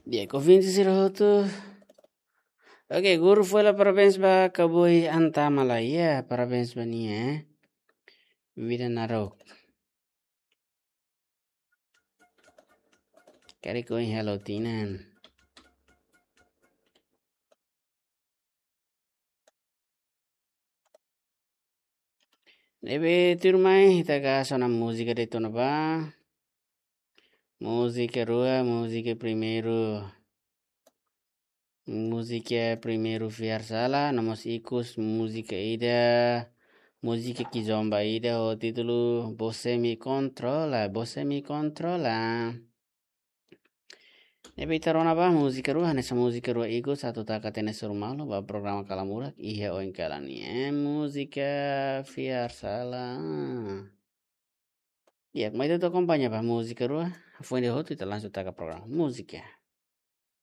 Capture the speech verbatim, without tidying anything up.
Di'ak, ouvinte sira hotu. Oke, guru foin halo parabéns ba Kaboi Antamala. Ya, parabéns ba nia, eh. Vida naruk. Karik ohin halo tinan. Ne'ebé tuirmai, ita hasoru ona múzika de'it ona ba. Múzika rua, múzika primeiru. Múzika primeiru Fiar Sala, no mós ikus múzika ida, múzika kizomba ida ho títulu Você Me Controla, Você Me Controla. Ne'ebé ita rona ba múzika rua, hanesan múzika rua ikus atu taka tiha ona suru malu ba programa Kalamurak iha oin kalan ne'e. Eh, múzika Fiar Sala. Ya, mai ita akompaña ba múzika rua. Foin de'it hotu ita langsung taka programa. Múzika.